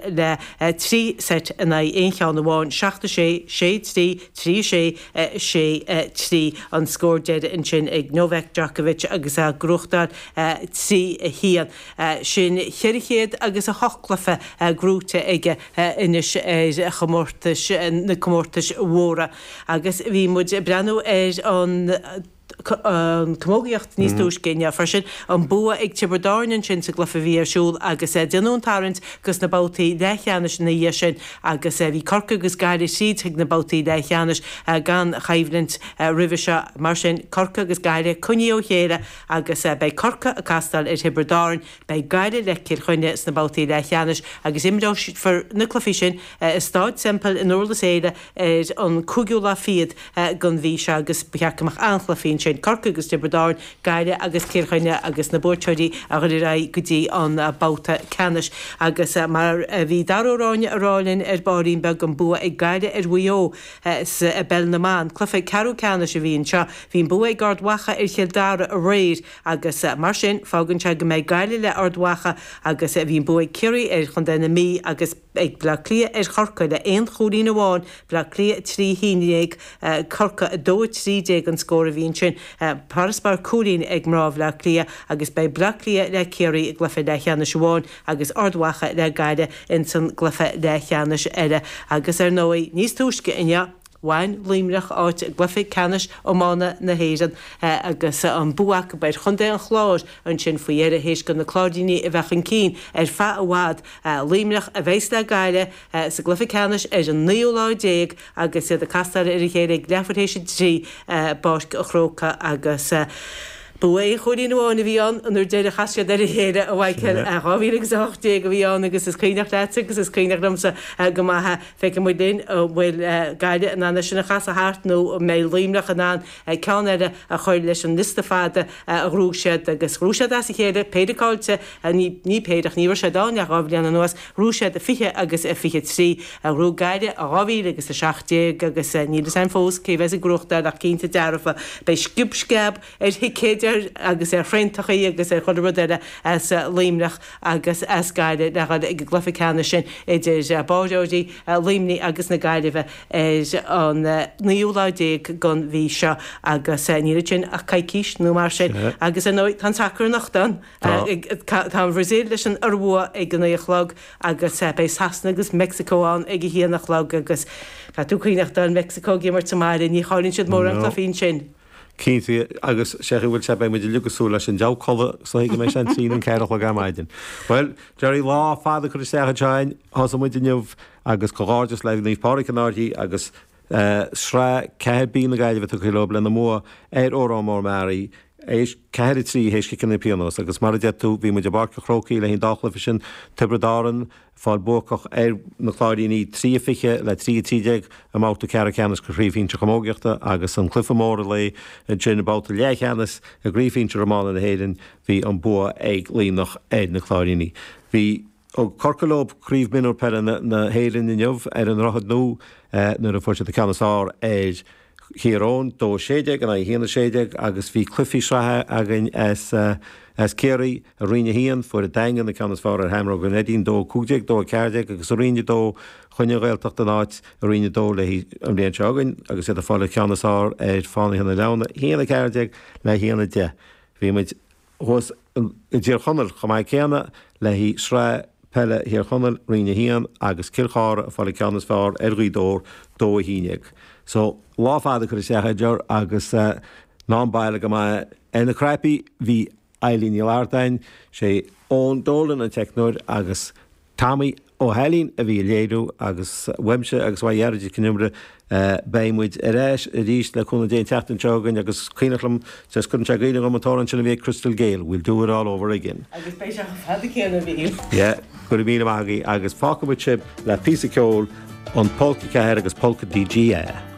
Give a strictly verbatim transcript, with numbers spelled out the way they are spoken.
le trí set in aghaidh aon cheann amháin, seacht a sé, sé trí, trí a sé, sé trí an scór deiridh ansin ag Novak Djokovic agus é ag gnóthachtáil trí a haon. Sin ceithre chéad agus a hocht cluiche gnóite aige anois ar chomórtais na comórtais mhóra. Agus bhí muid ag breathnú ar an an camógaíocht níos túisce inniu freisin, an bua ag Tiobraid Árann ansin sa gcluiche a bhí ar siúl agus déanadh an tarraingt dos na babhtaí leathcheannais ina dhiaidh sin agus bhí Corcaigh agus Gaillimh tríd chuig na babhtaí leathcheannais gan choimhlint roimhe seo. Mar sin, Corcaigh agus Gaillimh coinnithe ó chéile agus beidh Corcaigh ag castáil ar Thiobraid Árann, beidh Gaillimh le Cill Chainnigh sna babhtaí leathcheannais agus imreofar na cluichí sin i Stáid Semple i nDurlas Éile ar an cúigiú lá fichead den mhí seo agus ba cheart go mbeadh an-chluichí ansin, Corcaigh agus Tiobraid Árann, Gaillimh agus Cill Chainnigh agus na buaiteoirí a dhul ar aghaidh go dtí an babhta ceannais. Agus mar a bhí Dara Ó Ráinne a rá linn ar baillín beag, an bua ag Gaillimh ar Mhaigh Eo sa bpeil na mban, cluiche ceathrú ceannais a bhí anseo. Bhí an bua ag Ard Mhacha ar Chill Dara aréir agus mar sin fágann sé go mbeidh Gaillimh le Ard Mhacha agus bhí an bua ag Ciarraí ar Chontae na Mí agus ag Bleá Cliath ar Chorcaigh le aon chúilín amháin, Bleá Cliath a trí a haon déag, Corcaigh a dó a trí déag an scór a bhí ansin. Farasbarr cúilín ag mná Bhleá Cliath agus beidh Bleá Cliath le Ciarraí i gcluiche leathcheannais amháin agus Ard Mhacha le Gaillimh ins an gcluiche leathcheannais eile. Agus ar ndóigh, níos túisce inniu, bhain Luimneach áit i gcluiche ceannais iomána na hÉireann agus an bua acu ar chontae an Chláir ansin faoi dheireadh théis do na Cláirínigh a bheith chun cinn ar feadh i bhfad. Luimneach a bheas le Gaillimh sa gcluiche ceannais ar an naoú lá déag agus iad ag castáil ar a chéile ag leathuair théis a trí i bPáirc an Chrócaigh agus bua aon chúilín amháin a bhí ann an uair deiridh a chas siad ar a chéile, a Mhichael. Dhá mhíle agus a hocht déag a bhí ann agus is cuimhneach leatsa agus is cuimhneach liomsa go maith é. Feicfidh muid linn an bhfuil Gaillimh in ann é sin a chasadh thart nó an mbeidh Luimneach in ann ceann eile a chur leis an liosta fada a ghnóthaigh siad agus ghnóthaigh siad as a chéile péire caillte, ní ní péire ach ní raibh siad ann le dhá bhliain anuas, ghnóthaigh siad fiche agus fiche trí. Ghnóthaigh Gaillimh i dhá mhíle agus a seacht déag agus níl fhios a'inn fós cé bheas ag gnóthachtáil ach cinnte dearfa beidh sciob sceab ar thicéid agus ar thraentachaí agus ar chuile rud eile as Luimneach agus as Gaillimh le dhul ag an gcluiche ceannais sin idir báireoirí Luimnigh agus na Gaillimhe ar an naoú lá déag den mhí seo agus níl ansin ach coicís nó mar sin agus ar ndóigh tá an sacar anocht ann. Tá an Bhrasaíl leis an Iorua ag a naoi a chlog agus beidh Sasana agus Meicsiceo ann ag a haon a chlog agus caithfidh tú cuimhneachtáil Meicsiceo ag imirt sa mbaile, ní chailleann siad mórán cluichí ansin. Cinnte, agus sé chaoi bhfuil sé, beidh muid uilig ag súil leis an deabhadh codladh sa chaoi go mbeidh sé an trí nó an ceathair a chlog ar maidin. Bhuel, Gerry, lá fada curtha isteach anseo againn, thosaigh muid inniu agus comhghairdeas le Naomh Pádraig an Fhairche agus Sraith ceathair B na Gaillimhe tugtha leo lena mbua ar Órán Mór Meáraí, théis ceathair a trí théis ciceanna pionóis agus mar a deir tú, bhí muid i bPáirc an Chrócaigh le haghaidh an dá chluiche sin, Tiobraid Árann, fáil buacach ar na Cláirínigh trí a fiche le trí a trí déag i mbabhta ceathrú ceannais de Chraobh Shinsir Chamógaíochta agus an cluiche mór an lae ansin i mbabhta leathcheannais i gCraobh Shinsir Iomána na hÉireann bhí an bua ag Luimneach ar na Cláirínigh. Bhí Thug Corcaigh leo Craobh Mionúr Peile na hÉireann inniu ar an Droichead Nua nuair a fuair siad an ceann is fearr ar Thír Eoghain, dó a sé déag in aghaidh a haon a sé déag agus bhí cluichí sraithe againn as as Ciarraí i Roinn a haon, fuair an Daingean an ceann is fearr ar Sheamróga an Neidín, dó a cúig déag, dó a ceathair déag agus i Roinn a dó choinnigh an Ghaeltacht a n-áit i Roinn a dó le an bhliain seo chugainn agus iad ag fáil an ceann is fearr ar Fánaithe na Leamhna, a haon a ceathair déag le a haon a deich. Bhí muid thuas i dTír Chonaill chomh maith céanna le haghaidh Sraith Peile Thír Chonaill, Roinn a haon, agus Cill Chartha ag fáil an ceann is fearr ar Ghaoth Dobhair, dó a haon déag. So, lá fada curtha isteach a Ger agus ná an baile go maith. Ar na cnaipí bhí Eilín Ní Ardáin, sé Eoin Dolan an teicneoir agus Tommy Ó hAilín a bhí ag léiriú agus uaimse agus uaidh Ghearóid Mhic Con Iomaire beidh muid ar ais arís le cúnamh Dé an tseachtain seo chugainn agus cuimhneach liom just cuireann sé i gcuimhne dhom an t-amhrán sin a bhí ag Crystal Gayle, We'll do it all over again. Agus beidh sé chomh fada céanna a Mhichíl. Yeah, go raibh míle maith agaibh agus fágfaidh muid sibh le píosa ceoil, an Polca Ceathair agus Polca DGA.